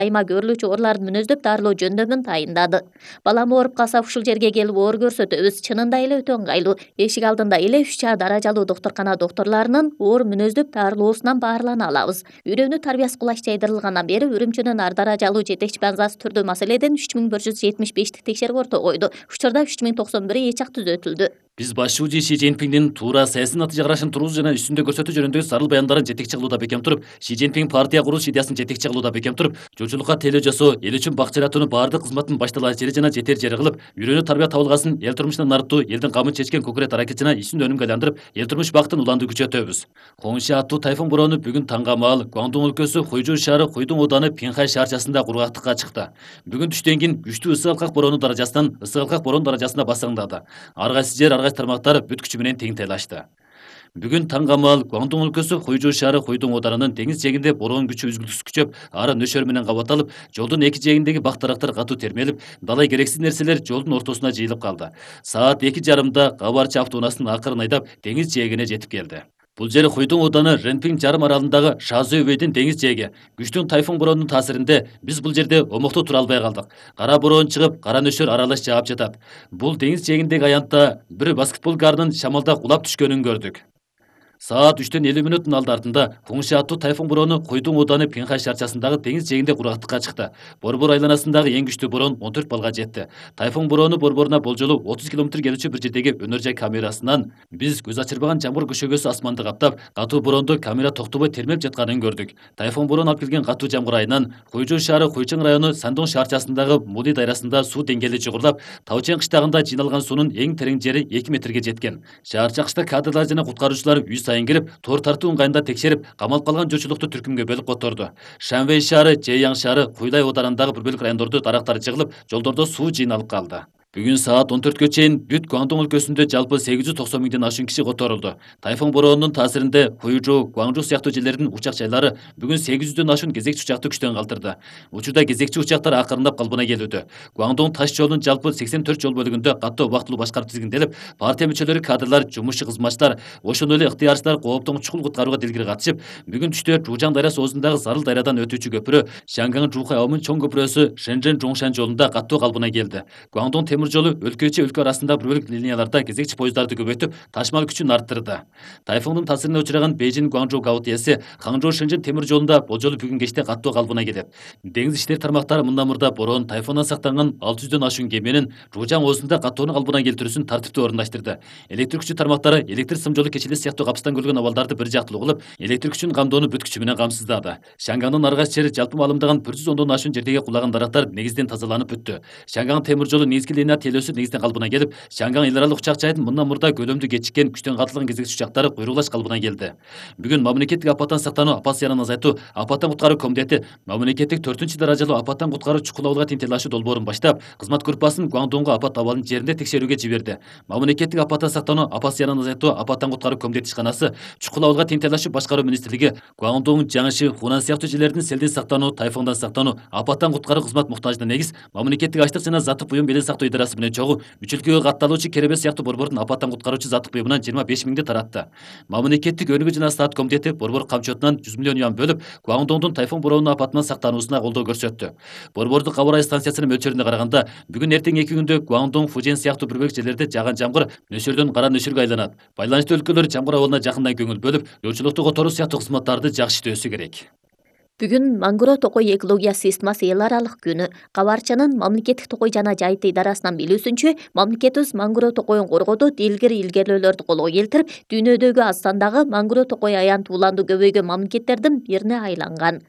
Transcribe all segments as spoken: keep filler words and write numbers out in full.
айма көрүлүүчү ооруларды мүнөздөп дарылоо жөндөмүн тайындады. Балам ооруп калса ушул жерге келип оор көрсөтөбүз. Чынында эле өтө ыңгайлуу. Эшик алдында эле үч чаа даражалуу доктуркана доктурларынын оор мүнөздөп дарылоосунан баарлана алабыз. Үйрөнүү тарбиясы кулач жайдырылгандан бери Үрүмчүнүн ар даражалуу жетекчи базасы түрдүү маселеден үч миң bir жүз жетимиш бештик текшерүү орто койду. Учурда үч миң токсон бири эчак түзөтүлдү. Биз башчыбы Ши Цзиньпиндин туура саясий натыйжа карашын тургузуу жана үстүндө көрсөтүү жөнүндөгү зарыл баяндарын жетекчи кылууда бекем туруп, Ши Цзиньпин партия курулуш идеясын жетекчи кылууда бекем туруп, журчулукка тейлөө жасоо, эл үчүн бак жаратуунун баардык кызматын башталаа жери жана жетер жери кылып, үйрөнүү тарбия табылгасын эл турмушунан арттуу, элдин камын чечкен конкурент аракет жана ишин өнүмгө айландырып, эл турмуш бактын уланды күчөтөбүз. Хоңши аттуу тайфун бороону бүгүн таңга маал Гуандун өлкөсү Хуйжу шаары Хуйдун ооданы Пинхай шаарчасында кургактыкка чыкты. Бүгүн түштөн кийин күчтүү ысык алкак бороону даражасынан ысык алкак бороо даражасына басыңдады. Ар кайсы жер, ар кайсы тармактар бүт күчү менен тең тайлашты. Бүгүн таңга маал Гуандун өлкөсү Хуйжу шаары Хуйдун оодарынын теңиз жээгинде бороон күчү үзгүлтүксүз күчөп, ары нөшөр менен кабатталып, жолдун эки жээгиндеги бак дарактар катуу термелип, далай керексиз нерселер жолдун ортосуна жыйылып калды. Саат эки жарымда кабарчы автоунаасынын акырын айдап, теңиз жээгине жетип келди. Бул жер Хуйдун ооданы Ренпин жарым аралындагы Шазы өбөйдүн теңиз жээги. Күчтүү тайфун бороонунун таасиринде биз бул жерде омоктоо тура албай калдык. Кара бороон чыгып, кара нөшөр аралаш жаап жатат. Бул теңиз жээгиндеги аянтта бир баскетбол гарынын шамалда кулап түшкөнүн көрдүк. Саат үчтөн элүү мүнөттүн алды артында Хоңши аттуу тайфун бороону Хуйдун ооданы Пинхай шаарчасындагы теңиз жээгинде кургактыкка чыкты. Борбор айланасындагы эң күчтүү бороон он төрт баллга жетти. Тайфун бороону борборуна болжолу отуз километр келүүчү бир жердеги өнөр жай камерасынан биз көз ачырбаган жамгыр көшөгөсү асманды каптап, катуу борондо камера токтобой термелип жатканын көрдүк. Тайфун бороон алып келген катуу жамгыр айынан Хуйжу шаары Хуйчың району Сандон шаарчасындагы Мули дайрасында суу деңгээли жогорулап, Таучен кыштагында жыйналган суунун эң терең жери эки метрге жеткен. Шаарча кышта кадрлар жана куткаруучулар үй сайын кирип, тор тартуу ыңгайында текшерип, камалып калган журчулукту түркүмгө бөлүп которду. Шанвей шаары, Жэяң шаары, Хуйлай оодарындагы бир бөлүк райондордо дарактар жыгылып, жолдордо суу жыйналып калды. Бүгүн саат он төрткө чейин бүт Гуандун өлкөсүндө жалпы сегиз жүз токсон миңден ашуун киши которулду. Тайфун бороонунун таасиринде Хуйжу, Гуаңжу сыяктуу жерлердин учак жайлары бүгүн сегиз жүздөн ашуун кезекчи учакты күчтөн калтырды. Учурда кезекчи учактар акырындап калыбына келүүдө. Гуандун таш жолунун жалпы сексен төрт жол бөлүгүндө каттоо убактылуу башкарып тизгинделип, партия мүчөлөрү, кадрлар, жумушчу кызматчылар, ошондой эле ыктыярчылар кооптон чукул куткарууга дилгири катышып, бүгүн түштө Жужан дайрасы оозундагы зарыл дайрадан өтүүчү көпүрө Шанган Жухай Аомун чоң көпүрөсү Шэнжэн Жоңшан жолунда каттоо калыбына келди. Гуандун темир жолу өлкө ичи өлкө арасында бир бөлүк линияларда кезекчи поезддарды көбөйтүп, ташмал күчүн арттырды. Тайфундун таасирине учураган Бейжин Гуанчжоу Гаотияси Ханчжоу Шэнжэн темир жолунда болжолу бүгүн кечте каттоо калыбына келет. Деңиз иштери тармактары мындан мурда бороон тайфундан сактанган алты жүздөн ашуун кеменин Жужан оозунда каттоону калыбына келтирүүсүн тартиптүү орундаштырды. Электр күчү тармактары электр сым жолу кечилер сыяктуу капыстан көлгөн абалдарды бир жактылуу кылып, электр күчүн камдоону бүт күчү менен камсыздады. Шангандын ар кайсы жери жалпы маалымдаган бир жүз ондон ашуун жердеги кулаган дарактар негизден тазаланып бүттү. Шанган темир жолу негизги линия тейлөөсү негизден калыбына келип, Шанган эл аралык учак жайдын мындан мурда көлөмдүү кечиккен күчтөн катылган кезекчи учактары куйругулаш калыбына келди. Бүгүн мамлекеттик апаттан сактануу, апат зыянын азайтуу, апаттан куткаруу комитети мамлекеттик төртүнчү даражалуу апаттан куткаруу чукул абалга тең тайлашуу долбоорун баштап, кызмат группасын Гуандунга апат абалын жеринде текшерүүгө жиберди. Мамлекеттик апаттан сактануу, апат зыянын азайтуу, апаттан куткаруу комитети ишканасы, чукул абалга тең тайлашуу башкаруу министрлиги, Гуандун, Жаңши, Хунан сыяктуу жерлердин селден сактануу, тайфундан сактануу, апаттан куткаруу кызмат муктажына негиз мамлекеттик ачлык жана заттык буюм беле сактоо идарасы менен чогуу үч өлкөгө катталуучу Керебе сыяктуу борбордун апаттан куткаруучу заттык буюмунан жыйырма беш миңди таратты. Мамлекеттик өнүгүү жана стат комитети борбор камчотунан жүз миллион юан бөлүп, Гуандундун тайфун бороонунун апатынан сактануусуна колдоо көрсөттү. Борбордук аба ырайы станциясынын мөлчөрүнө караганда, бүгүн эртең эки күндө Гуандун, Фужен сыяктуу бир бөлүк жерлерде жааган жамгыр нөсөрдөн кара нөшөргө айланат. Байланыштуу өлкөлөр жамгыр абалына жакындан көңүл бөлүп, жолчулукту которуу сыяктуу кызматтарды жакшы иштөөсү керек. Бүгүн Мангуро токой экология системасы эл аралык күнү. Кабарчанын мамлекеттик токой жана жайыты идарасынан билүүсүнчө, мамлекетибиз Мангуро токойун коргоодо дилгир илгерүүлөрдү колго келтирип, дүйнөдөгү аз сандагы Мангуро токой аянты уланды көбөйгөн мамлекеттердин бирине айланган.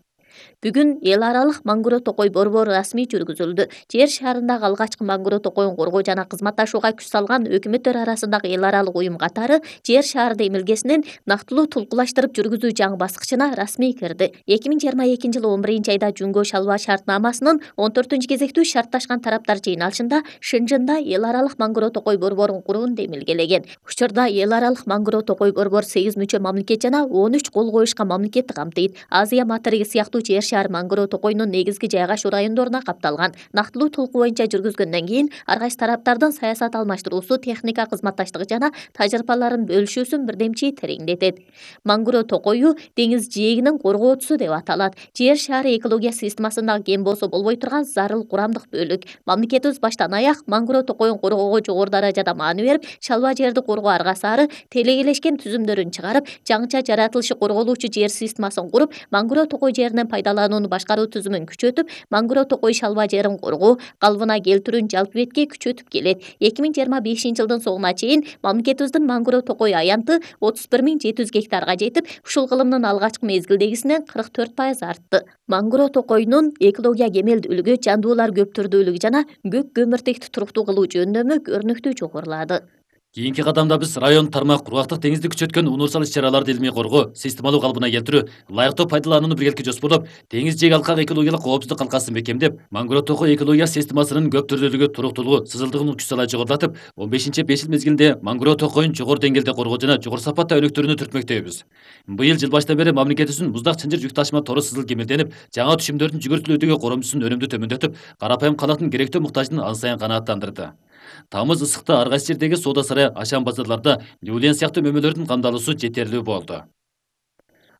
Бүгүн эл аралык Мангуро токой борбору расмий жүргүзүлдү. Жер шарындагы алгачкы Мангуро токойун коргоо жана кызматташууга күч салган өкмөттөр арасындагы эл аралык уюм катары жер шаарды эмилгесинин нактылуу тулкулаштырып жүргүзүү жаңы баскычына расмий кирди. эки миң жыйырма экинчи жылы он биринчи айда Жүнгө Шалва шартнамасынын он төртүнчү кезектүү шартташкан тараптар жыйналышында Шэнжэнда эл аралык Мангуро токой борборун курууну демилгелеген. Учурда эл аралык Мангуро токой борбор сегиз мүчө мамлекет жана он үч кол коюшкан мамлекетти камтыйт. Азия материги сыяктуу жер шаар Мангороо токойунун негизги жайгашуу райондоруна капталган. Нактылуу толуку боюнча жүргүзгөндөн кийин ар кайсы тараптардын саясат алмаштыруусу, техника кызматташтыгы жана тажрыйбаларын бөлүшүүсүн бирдемчи тереңдетет. Мангороо токою деңиз жээгинин коргоочусу деп аталат. Жер шаары экология системасындагы кем болсо болбой турган зарыл курамдык бөлүк. Мамлекетибиз баштан аяк Мангороо токоюн коргоого жогору даражада маани берип, шалба жерди коргоо аргасары телегелешкен түзүмдөрүн чыгарып, жаңыча жаратылышы корголуучу жер системасын куруп, Мангороо токой жеринен пайдаланууну башкаруу түзүмүн күчөтүп, Мангороо токой шалба жерин коргоо, калыбына келтирүүнү жалпы бетке күчөтүп келет. эки миң жыйырма бешинчи жылдын соңуна чейин мамлекетибиздин Мангороо токой аянты отуз бир миң жети жүз гектарга жетип, ушул кылымдын алгачкы мезгилдегисинен кырк төрт пайыз артты. Мангороо токойунун экология кемелдүүлүгү, жандуулар көп түрдүүлүгү жана көк көмүртекти туруктуу кылуу жөндөмү көрүнүктүү жогорулады. Кийинки кадамда биз район тармак кургактык деңизди күчөткөн универсал иш-чараларды илмий коргоо, системалуу калыбына келтирүү, ылайыктуу пайдаланууну биргеликке жоспарлап, деңиз жээги алкак экологиялык коопсуздук калкасын бекемдеп, Мангороо токой экология системасынын көп түрдүүлүгү, туруктуулугу, сызылдыгын күч салай жогорулатып, он бешинчи беш жыл мезгилинде Мангороо токоюн жогору деңгээлде коргоо жана жогору сапатта өнүктүрүүнү түртмөктөйбүз. Быйыл жыл баштан бери мамлекетибиздин муздак чынжыр жүк ташыма тору сызыл кемелденип, жаңа түшүмдөрдүн жүгүртүлүүдөгү коромчусунун өнүмдү төмөндөтүп, карапайым калктын керектүү муктажын ан сайын канааттандырды. Тамыз ысыкта ар кайсы жердеги соода сарай, ашам базарларда люлен сыяктуу мөмөлөрдүн камдалуусу жетерлүү болду.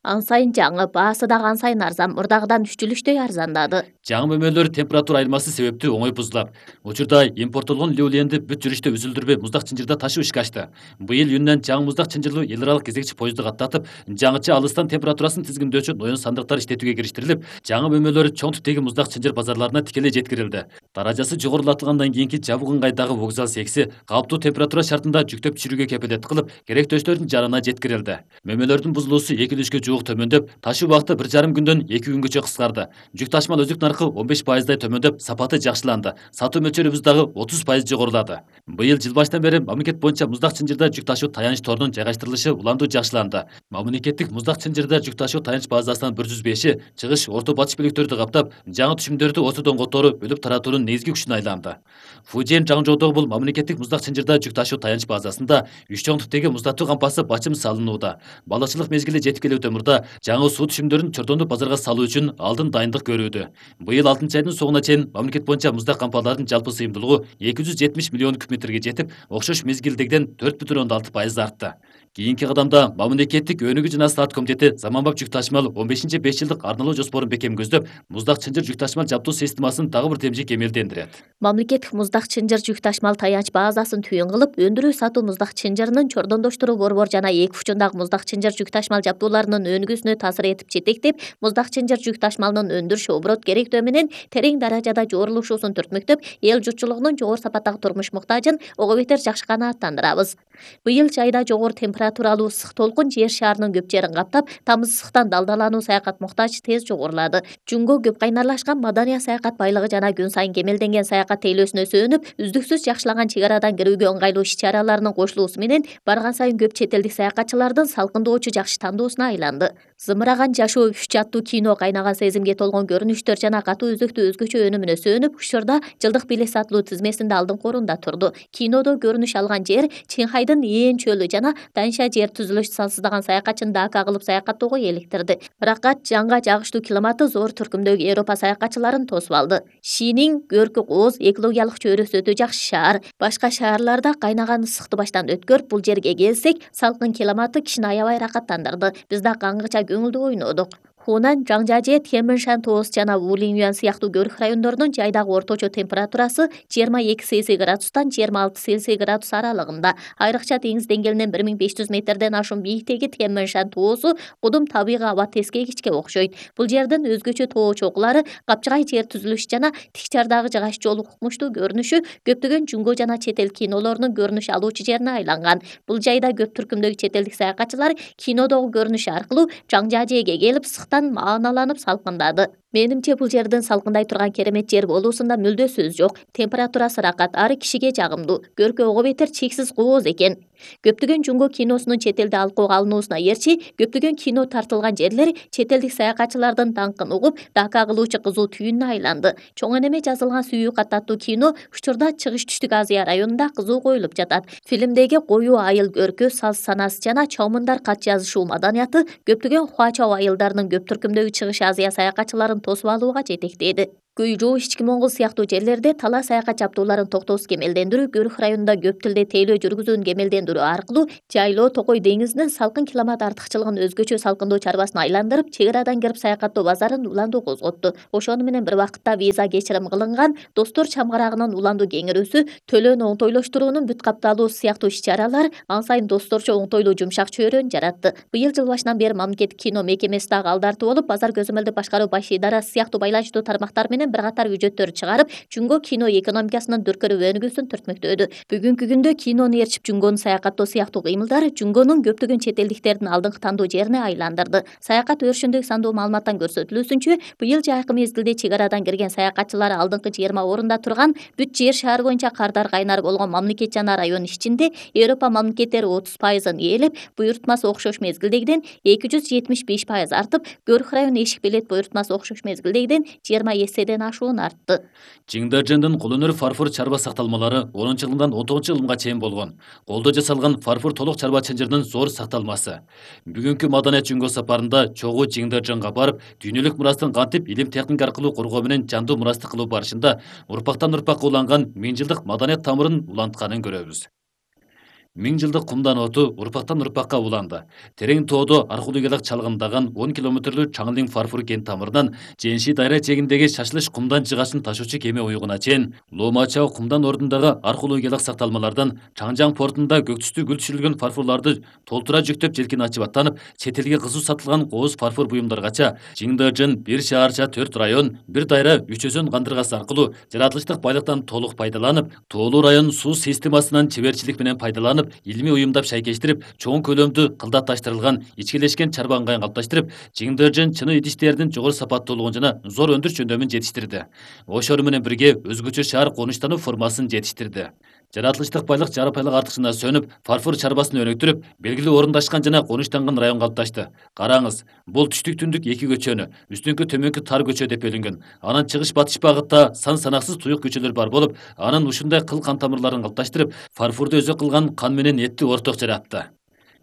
Ан сайын жаңы, баасы дагы ан сайын арзан, мурдагыдан үч жүлүчтөй арзандады. Жаңы мөмөлөр температура айырмасы себептүү оңой бузулат. Учурда импорттолгон люленди бүт жүрүштө үзүлдүрбөй муздак чынжырда ташуу ишке ашты. Быйыл июндан жаңы муздак чынжырлуу эл аралык кезекчи поезду каттатып, жаңыча алыстан температурасын тизгиндөөчү ноён сандыктар иштетүүгө кириштирилип, жаңы мөмөлөр чоң типтеги муздак чынжыр базарларына тикелей жеткирилди. Даражасы жогорулатылгандан кийинки жабык ыңгайдагы вокзал секси калыптуу температура шартында жүктөп түшүрүүгө кепилдик кылып, керектөөчтөрдүн жарана жеткирилди. Мөмөлөрдүн бузулуусу эки үлүшкө жуук төмөндөп, ташуу убакыты бир жарым күндөн эки күнгөчө кыскарды. Жүк ташмал өзүк наркы он беш пайыздай төмөндөп, сапаты жакшыланды. Сатуу мөлчөрүбүз дагы отуз пайыз жогорулады. Быйыл жыл баштан бери мамлекет боюнча муздак чынжырда жүк ташуу таяныч торунун жайгаштырылышы уламдуу жакшыланды. Мамлекеттик муздак чынжырда жүк ташуу таяныч базасынын бир жүз беши чыгыш, орто батыш бөлүктөрдү каптап, жаңы түшүмдөрдү осудон которуу, бөлүп таратуунун негизги күчүнө айланды. Фужен Жаңжоодогу бул мамлекеттик муздак чынжырда жүк ташуу таяныч базасында үч чоң типтеги муздатуу кампасы бачым салынууда. Балычылык мезгили жетип келүү темурда жаңы суу түшүмдөрүн чордондуп базарга салуу үчүн алдын дайындык көрүүдө. Быйыл алтынчы айдын соңуна чейин мамлекет боюнча муздак кампалардын жалпы сыйымдуулугу эки жүз жетимиш миллион куб метрге жетип, окшош мезгилдегиден төрт бүтүн ондон алты пайыз артты. Кийинки кадамда мамлекеттик өнүгүү жана саат комитети заманбап жүк ташмал он бешинчи беш жылдык арналуу жоспорун бекем көздөп, муздак чынжыр жүк ташмал жабдуу системасын дагы бир темжи кемелдендирет. Мамлекеттик муздак чынжыр жүк ташмал таяныч базасын түйүн кылып, өндүрүү сатуу муздак чынжырынын чордондоштуруу борбор жана эки учундагы муздак чынжыр жүк ташмал жабдууларынын өнүгүүсүнө таасир этип жетектеп, муздак чынжыр жүк ташмалынын өндүрүш оборот керектөө менен терең даражада жорулушуусун түртмөктөп, эл журтчулугунун жогору сапаттагы турмуш муктажын ого бетер жакшы канааттандырабыз. Быйыл жайда жогору температуралуу ысык толкун жер шаарынын көп жерин каптап, тамыз ысыктан далдалануу саякат муктажы тез жогорулады. Жунго көп кайнарлашкан Мадания саякат байлыгы жана күн сайын кемелденген саякат тейлөөсүнө сүйөнүп, үздүксүз жакшылаган чек арадан кирүүгө ыңгайлуу иш-чараларынын кошулуусу менен барган сайын көп чет элдик саякатчылардын салкындоочу жакшы тандоосуна айланды. Зымыраган жашоо үч аттуу кино кайнаган сезимге толгон көрүнүштөр жана катуу үзүктүү өзгөчө өнүмүнө сүйөнүп, учурда жылдык билет сатылуу тизмесинде алдыңкы орунда турду. Кинодо көрүнүш алган жер Чинхайдын Ээн чөлү жана Даньша жер түзүлүшү сансыздаган саякатчыны дака кылып саякаттоого эликтирди. Бирок жаңга жагыштуу климаты зор түркүмдөгү Европа саякатчыларын тосуп алды. Шинин көркү кооз, экологиялык чөйрөсү өтө жакшы шаар. Башка шаарларда кайнаган ысыкты баштан өткөрүп, бул жерге келсек, салкын климаты кишини аябай рахаттандырды. Биз да каңгыча көңүлдүү ойнодук. Хунан, Жаңжажэ, Тяньмэншань тоос жана Вулинъюань сыяктуу көрүк райондорунун жайдагы орточо температурасы жыйырма эки Цельсий градустан жыйырма алты Цельсий градус аралыгында. Айрыкча деңиз деңгээлинен бир миң беш жүз метрден ашуун бийиктеги Тяньмэншань тоосу кудум табигый аба тескегичке окшойт. Бул жердин өзгөчө тоо чокулары, капчыгай жер түзүлүшү жана тик чардагы жыгач жолу укмуштуу көрүнүшү көптөгөн жунго жана чет эл кинолорунун көрүнүш алуучу жерине айланган. Бул жайда көп түркүмдөгү чет элдик саякатчылар кинодогу көрүнүш аркылуу Жаңжажэге келип мааналанып салкындады. Менимче бул жердин салкындай турган керемет жер болуусунда мүлдө сөз жок. Температурасы ракат, ары кишиге жагымдуу, көркө ого бетер чексиз кооз экен. Көптөгөн жунго киносунун чет элде алкоого алынуусуна ээрчи, көптөгөн кино тартылган жерлер чет элдик саякатчылардын даңкын угуп, дака кылуучу кызуу түйүнүнө айланды. Чоң энеме жазылган Сүйүү кат аттуу кино учурда Чыгыш Түштүк Азия районунда кызуу коюлуп жатат. Фильмдеги коюу айыл көркү, саз санасы жана чоомундар кат жазышуу маданияты көптөгөн хуачао айылдарынын көп түркүмдөгү Чыгыш Азия саякатчыларын тосуп алууга жетектейди. Күйжүү, Ички Моңгол сыяктуу жерлерде тала саякат чаптууларын токтоосуз кемелдендирүү, Гөрүх районунда көп тилде тейлөө жүргүзүүнү кемелдендирүү аркылуу жайлоо Токой деңизинин салкын климат артыкчылыгын өзгөчө салкындоо чарбасына айландырып, чек арадан келип саякаттоо базарын уландуу козготту. Ошону менен бир убакытта виза кечирим кылынган, Достор чамгарагынын уландуу кеңирүүсү, төлөөнү оңтойлоштуруунун бүт капталуу сыяктуу иш-чаралар ан сайын досторчо оңтойлуу жумшак чөйрөнү жаратты. Быйыл жыл башынан бери мамлекеттик кино мекемеси дагы алдартуу болуп, базар көзөмөлдү башкаруу баш идарасы сыяктуу байланыштуу тармактар менен бир катар бюджеттөр чыгарып, жунго кино экономикасынын дүркүрөп өнүгүүсүн түртмөктөдү. Бүгүнкү күндө кинону ээрчип жунгону саякаттоо сыяктуу кыймылдар жунгонун көптөгөн чет элдиктердин алдыңкы тандоо жерине айландырды. Саякат өрүшүндөгү сандуу маалыматтан көрсөтүлүүсүнчө, быйыл жайкы мезгилде чек арадан кирген саякатчылар алдыңкы жыйырма орунда турган бүт жер шаар боюнча кардар кайнар болгон мамлекет жана район ичинде Европа мамлекеттери отуз пайызын ээлеп, буйрутмасы окшош мезгилдегиден эки жүз жетимиш беш пайыз артып, Гөрүх району эшик билет буйрутмасы окшош мезгилдегиден жыйырма эседен ашуун артты. Чиңдержендин кол өнөр фарфор чарба сакталмалары онунчу жылымдан он тогузунчу жылымга чейин болгон. Колдо жасалган фарфор толук чарба чынжырынын зор сакталмасы. Бүгүнкү маданият жөнгө сапарында чогуу Чиңдерженге барып, дүйнөлүк мурастын кантип илим техника аркылуу коргоо менен жандуу мурасты кылуу барышында урпактан урпакка уланган миң жылдык маданият тамырын улантканын көрөбүз. Миң жылдык кумдан оту урпактан урпакка уланды. Терең тоодо археологиялык чалгындаган он километрлүү Чаңлың фарфор кен тамырынан Женши дайра жээгиндеги шашылыш кумдан жыгашын ташуучу кеме уюгуна чейин Ломачао кумдан ордундагы археологиялык сакталмалардан Чаңжаң портунда көк түстүү гүл түшүрүлгөн фарфорлорду толтура жүктөп желкин ачып аттанып, чет элге кызуу сатылган кооз фарфор буюмдаргача Чиңдержен бир шаарча төрт район, бир дайра үч өзөн кандыргасы аркылуу жаратылыштык байлыктан толук пайдаланып, тоолуу район суу системасынан чеберчилик менен пайдаланып, илимий уюмдап шайкештирип, чоң көлөмдүү кылдатташтырылган, ичкилешкен чарба ыңгайын калыпташтырып, Чиңдержен чыны идиштердин жогору сапаттуулугун жана зор өндүрүш жөндөмүн жетиштирди. Ошол менен бирге өзгөчө шаар конуштануу формасын жетиштирди. Жаратылыштык байлык жарапайлык артыкчына сөнүп, фарфор чарбасын өнүктүрүп, белгилүү орундашкан жана конуштанган район калыпташты. Караңыз, бул түштүк түндүк эки көчөнү, үстүңкү төмөнкү тар көчө деп бөлүнгөн. Анан чыгыш батыш багытта сан санаксыз туюк көчөлөр бар болуп, анын ушундай кыл кан тамырларын калыпташтырып, фарфорду өзөк кылган кан менен этти орток жаратты.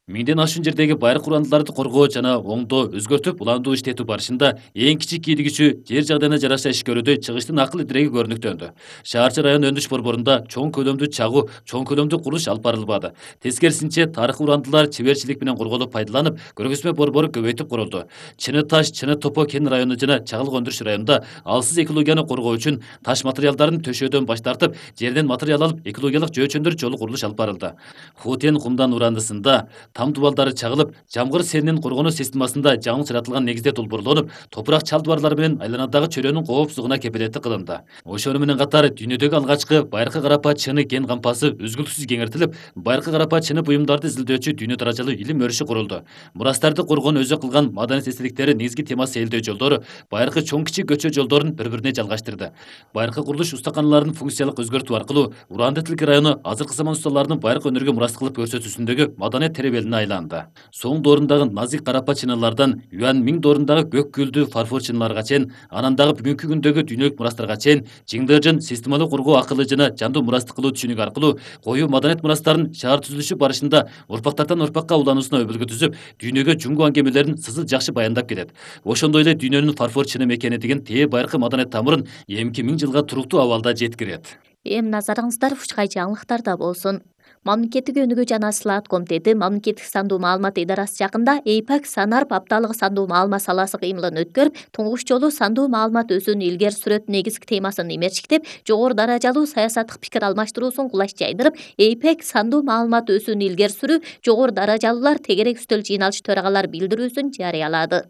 Миңден ашуун жердеги байыркы урандыларды коргоо жана оңдоо, өзгөртүп, уландуу иштетүү барышында эң кичик кийлигичү жер жагдайына жараша иш көрүүдөй чыгыштын акыл идиреги көрүнүктөндү. Шаарчы район өндүш борборунда чоң көлөмдүү чагуу, чоң көлөмдүү курулуш алып барылбады. Тескерисинче, тарыхый урандылар чеберчилик менен корголуп пайдаланып, көргөзмө борбору көбөйтүп курулду. Чыны таш, Чыны топо кен району жана Чагылык өндүрүш районунда алсыз экологияны коргоо үчүн таш материалдарын төшөөдөн баш тартып, жерден материал алып, экологиялык жөөчөндөр жолу курулуш алып барылды. Хутен кумдан урандысында там дубалдары чагылып, жамгыр селинин коргонуу системасында жаңы жаратылган негизде долбоорлонуп, топурак чал дубарлары менен айланадагы чөйрөнүн коопсуздугуна кепилеттик кылынды. Ошону менен катар дүйнөдөгү алгачкы байыркы карапа чыны кен кампасы үзгүлтүсүз кеңейтилип, байыркы карапа чыны буюмдарды изилдөөчү дүйнө даражалуу илим өрүшү курулду. Мурастарды коргоону өзөк кылган маданият эстеликтери негизги темасы ээлдөө жолдору, байыркы чоң кичик көчө жолдорун бири-бирине жалгаштырды. Байыркы курулуш устаканаларын функциялык өзгөртүү аркылуу Уранды тилки району азыркы заман усталарынын байыркы өнөргө мурас кылып көрсөтүүсүндөгү маданият теребелине айланды. Соң доорундагы назик карапа чыныналардан Юан Миң доорундагы көк гүлдүү фарфор чыныналарга чейин, анан дагы бүгүнкү күндөгү дүйнөлүк мурастарга чейин Чиңдержен системалуу коргоо акылы жана жандуу мурасты кылуу түшүнүгү аркылуу коюу маданият мурастарын шаар түзүлүшү барышында урпактардан урпакка улануусуна өбөлгө түзүп, дүйнөгө жунгу аңгемелерин сызыл жакшы баяндап келет. Ошондой эле дүйнөнүн фарфор чыны мекени деген тээ байыркы маданият тамырын эмки миң жылга туруктуу абалда жеткирет. Эми назарыңыздар Ушкай жаңылыктарда болсун. Мамлекеттик өнүгүү жана Слаат комитети Мамлекеттик сандуу маалымат идарасы жакында эйпак Санарп апталыгы сандуу маалымат саласы кыймылын өткөрүп, туңгуч жолу сандуу маалымат өсүүнү илгери сүрөт негизги темасын имерчиктеп, жогору даражалуу саясаттык пикир алмаштыруусун кулаш жайдырып, эйпак сандуу маалымат өсүүнү илгери сүрүү жогору даражалуулар тегерек үстөл жыйналышы төрагалар билдирүүсүн жарыялады.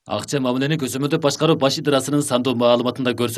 Акча мамилени көзөмөлдөп башкаруу баш идарасынын сандуу маалыматында көрсөтүлгөн